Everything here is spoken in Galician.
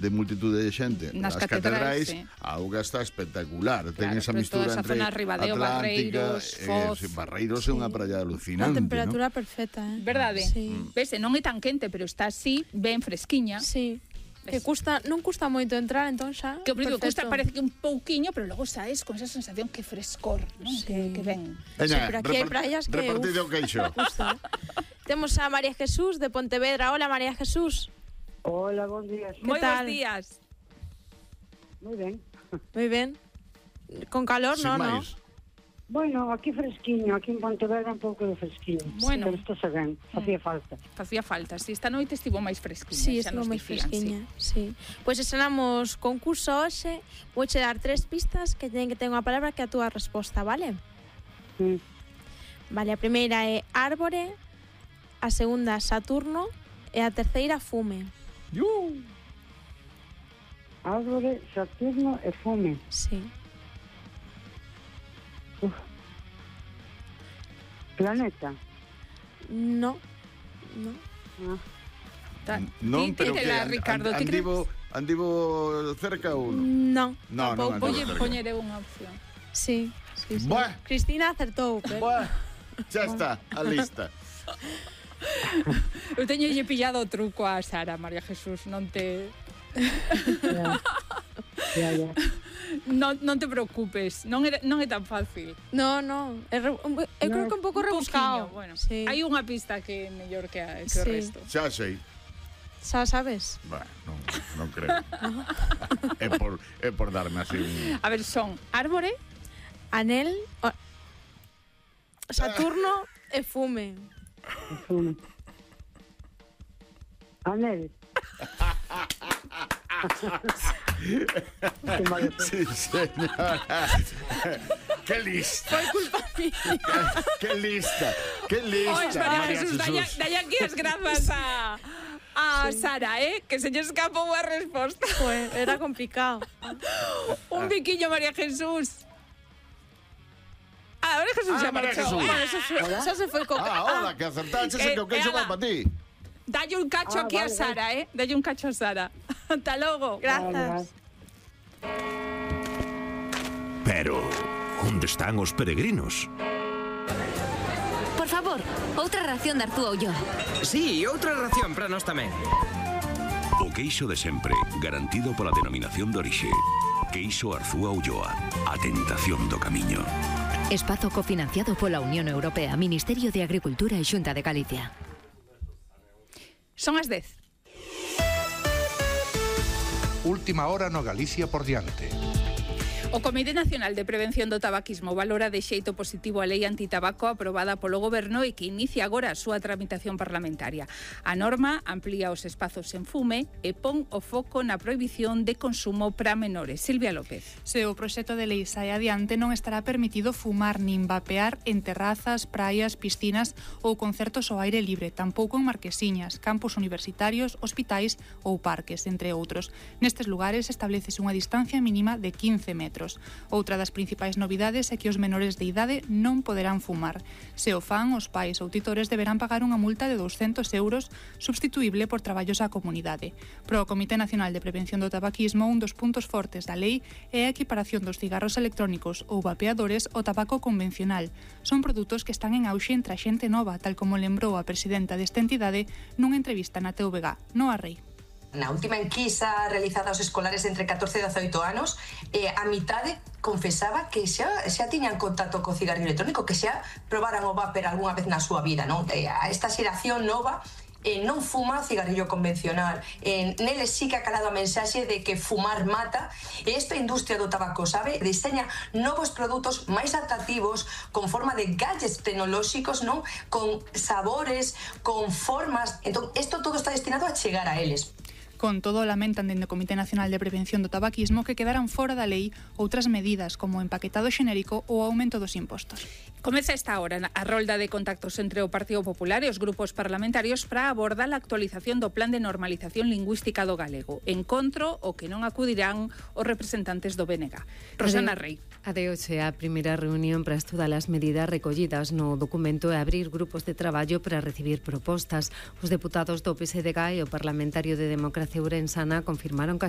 de multitude de xente nas nas catedrais, catedrais, a auga está espectacular. Ten Claro, esa pero mistura toda esa entre zona, Ribadeo, Atlántica, Barreiros, Foz. Barreiros é unha praia A alucinante, temperatura perfecta, Verdade? Sí. Vese, non é tan quente, pero está así, ben fresquiña. Sí. Que non custa moito entrar, entón xa. Que o primeiro custa, perfecto. parece que un pouquiño, pero logo saes con esa sensación que frescor, non? Sí. Que ven. Sí, pero aquí hai praias que, repartido o queixo. Justo. Temos a María Jesús de Pontevedra. Hola, María Jesús. Hola, bons días. Moi tal? bons días. Moi ben. Moi ben. Con calor, Sin no? máis. Bueno, aquí fresquiño, aquí en Pontevedra un pouco de fresquiño. Bueno. Pero isto se ben, facía falta. Facía falta. Si esta noite estivo máis fresquiña. Sí, xa estivo nos moi dicían, fresquiña, sí. Pois estrenamos concurso hoxe. Vouche dar 3 pistas que teñen que ter unha palabra que a túa resposta, vale? Sí. Vale, a primeira é árbore, a segunda Saturno e a terceira fume. Árbore, Saturno e fume. Sí. Planeta. No. Non, pero que Tírela, Ricardo, ti andivo cerca ou non? No. Non, non Tampouco andivo lle cerca. poñeré unha opción. Sí. Buah. Cristina acertou, pero... Buah, xa está, a lista. Eu teño lle pillado o truco a Sara, María Jesús, non te... Ya. Non te preocupes, non é tan fácil. No. Eu creo que un pouco rebuscado. Pouquiño, bueno. Sí. Hai unha pista que é mellor que o Sí. resto. Xa sei. Xa sabes? Bah, non creo. É por darme así un... A ver, son árbore, Anel, Saturno e fume. Fume. Anel. Sí, señora. ¡Qué lista! Foi culpa mía. ¡Qué lista! ¡Qué Ois, lista! María Jesús, dalle aquí as grazas a Sara, que se lle escapou a resposta. Pues era complicado. Un biquiño, María Jesús. María Jesús xa María marchou. Jesús. Xa se foi co... Hola, que acertaches e que o queixo va para ti. Dalle un cacho aquí a vale, Sara, Dalle un cacho a Sara. Hasta logo. Grazas. Pero, onde están os peregrinos? Por favor, outra ración de Artúa Ulloa. Sí, outra ración para nós tamén. O queixo de sempre, garantido pola denominación de orixe. Queixo Arzúa Ulloa, a tentación do camiño. Espazo cofinanciado pola Unión Europea, Ministerio de Agricultura e Xunta de Galicia. Son as 10. Última hora no Galicia por diante. O Comité Nacional de Prevención do Tabaquismo valora de xeito positivo a lei antitabaco aprobada polo Goberno e que inicia agora a súa tramitación parlamentaria. A norma amplía os espazos en fume e pon o foco na prohibición de consumo para menores. Silvia López. Se o proxecto de lei sae adiante, non estará permitido fumar nin vapear en terrazas, praias, piscinas ou concertos ao aire libre, tampouco en marquesiñas, campos universitarios, hospitais ou parques, entre outros. Nestes lugares establecese unha distancia mínima de 15 metros. Outra das principais novidades é que os menores de idade non poderán fumar. Se o fan, os pais ou titores deberán pagar unha multa de 200 euros substituíble por traballos á comunidade. Pro Comité Nacional de Prevención do Tabaquismo, un dos puntos fortes da lei é a equiparación dos cigarros electrónicos ou vapeadores ao tabaco convencional. Son produtos que están en auxe entre a xente nova, tal como lembrou a presidenta desta entidade nunha entrevista na TVG, Noa Rei. Na última enquisa realizada aos escolares entre 14 e 18 anos, a mitade confesaba que xa tiñan contacto co cigarrillo electrónico, que xa probaran o vapor algunha vez na súa vida, non? Esta xeración nova non fuma cigarrillo convencional. Neles sí que ha calado a mensaxe de que fumar mata, e esta industria do tabaco, sabe, diseña novos produtos máis atractivos con forma de gadgets tecnolóxicos, non? Con sabores, con formas. Entón, isto todo está destinado a chegar a eles. Con todo, lamentan dende o Comité Nacional de Prevención do Tabaquismo que quedaran fora da lei outras medidas como o empaquetado xenérico ou o aumento dos impostos. Comeza esta hora a rolda de contactos entre o Partido Popular e os grupos parlamentarios para abordar a actualización do Plan de Normalización Lingüística do Galego. Encontro o que non acudirán os representantes do BNG. Rosana Rei. A de hoxe a primeira reunión para estudar as medidas recollidas no documento e abrir grupos de traballo para recibir propostas. Os deputados do PSDG e o parlamentario de Democracia Ourensana confirmaron que as